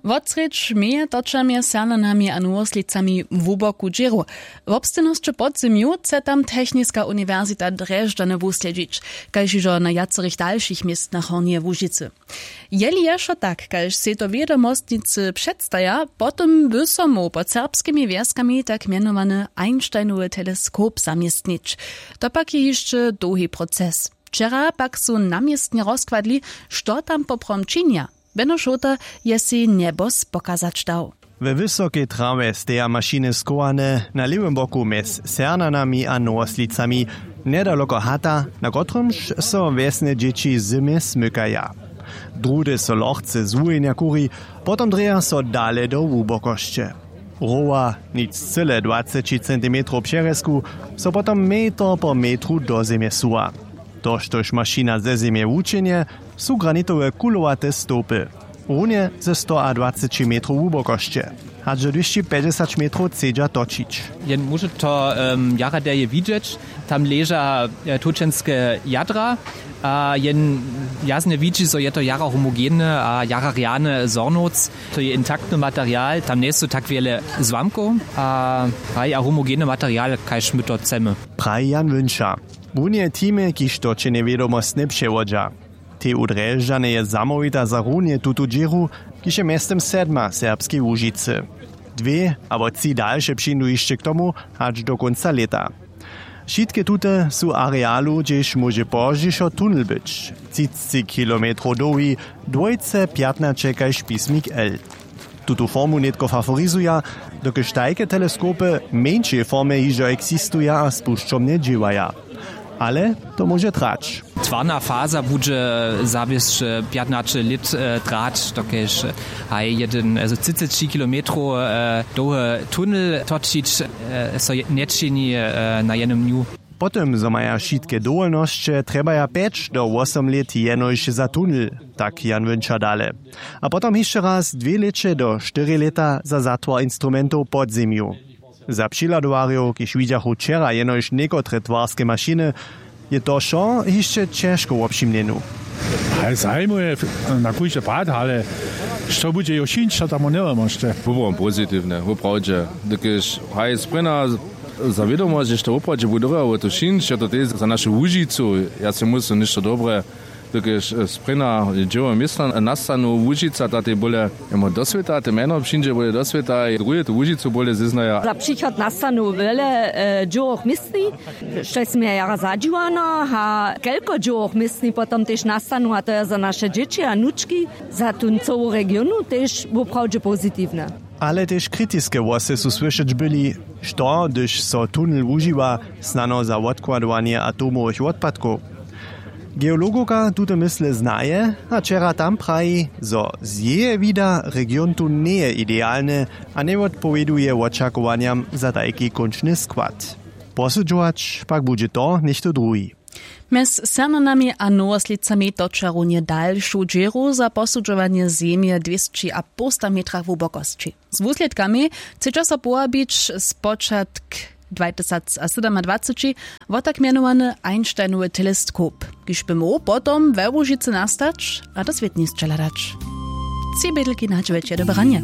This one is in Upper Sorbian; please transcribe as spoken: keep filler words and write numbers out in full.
Wotsrědź meje točami sernanami a nowoslicami hłuboku dźěru. Wobstejnosće podzymju chce tam techniska uniwersita drježdźany wuslědźić, kaž hižo na wjacorych dalšich městnach hornjeje łužicy. Jeli je wšo tak, kaž sej to wědomostnicy předstaja, potom by so móhł pod serbskimi wjeskami tak mjenowany einsteinowy teleskop zaměstnić. To pak je hišće dołhi proces. Wčera pak su na městnje rozkładli, što tam poprawom činja. Beno šołta je sej njebos pokazać dał. We wysokej trawje steja mašiny schowane na lěwym boku mjez sernanami a nowoslicami, njedaloko hata, na kotrymž so wjesne dźěći zymje smykaja. Druhdy so lochce z wuhjenja kuri, potom drěja so dale do hłubokosće. Rowa, nic cyle dwaceći centimetrow přerjezku, so potom metr po metru do zemje suwa. To štož mašina ze zemje wučenje, su granitowe kulowate stołpy. Runje ze stoadwaceći metrow hłubokosće, hač do dwěsći pjećdźesać metrow chcedźa točić. Jen móže to um, jara derje widźeć. Tam leža e, tučenske jadra, a jen jasnje widźi, zo je to jara homogene a jara rjane zhornowc. To je intaktny material, tam njesu tak wjele złamkow, a haj a homogeny material, kaž my to chcemy. Praji Jan Wünča. Runje teamy, kiž to čenje wědomostnje přewodźa. Tej u drježdźaneje zamołwita za runje tutu dźěru, kiž je mjeztym sedma w serbskej łužicy. Dwě abo tři dalše přińdu hišće k tomu, hač do kónca lěta. Wšitke tute su arealu, hdźež móže pozdźišo tunel być, třicci kilometrow dołhi, dwójce pjatnaće kaž pismik l. Tutu formu nětko faforizuja, dokelž tajke teleskopy w mjeńšej formje hižo eksistuja a spušćomnje dźěłaja. Ale to móže trać. Twarna faza budźe zawěsće pjatnaće lět e, trać, dokelž haj jedyn e, třiceći kilometrow e, dołhy tunel točić e, so je- nječini e, na jednym dnju. Potom zo maja wšitke dowolnosće, trjebaja pjeć do wosom lět jenož za tunel, tak Jan Wünča dale. A potom hišće raz dwě lěće do štyri lěta za zatwar instrumentow pod zemju. Za přihladowarjow, kiž widźachu wčera jenož někotre twarske mašiny, je to wšo hišće ćežko wobšimnjenu. Ale zajimuje na kóždy pad, ale što budźe jo šińć, to tam njewěmosće. Woprawom pozitiwnje, woprawdźe. Dokelž haj sprěna za wědomosć, žež to woprawdźe budowjało to šińć, je to tež za našu łužicu. Ja sej muslim něšto dobre, dokelž sprěna dźěło městna nastanu łužica, ta tej bóle jemo do swěta te mjeno přińdźe bóle do swěta, druhe tu łužicu bóle zeznaja. Za přichod nastanu wjele dźěłowych městni, što směje jara zadźiwano, a kelko dźěłowych městni potom tež nastanu, a to je za naše dźěći a nučki, za tón cołu regionu tež woprawdźe pozitiwnje. Ale tež kritiske hłosy su słyšeć byli, što hdyž so tunel wužiwa, snano za wotkładowanje atomowych wotpadkow. Geologowka tute mysle znaje, a wčera tam praji, zo z jeje wida region tu njeje idealny a njewotpowěduje wočakowanjam za tajki kónčny skład. Posudźować pak budźe to něchtó druhi. Mjez sernanami a nowoslicami toča runje dalšu dźěru za posudźowanje zemje w dwěsći a połsta metrach hłubokosći. Z wuslědkami chcedźa so powabić spočatk dwatysacsydomadwaceći, wo tak mjenowany einsteinowy teleskop, kiž by móhł potom we łužicy nastać a do swětnisće hladać. Tři bědelki na dźewjeće do branje.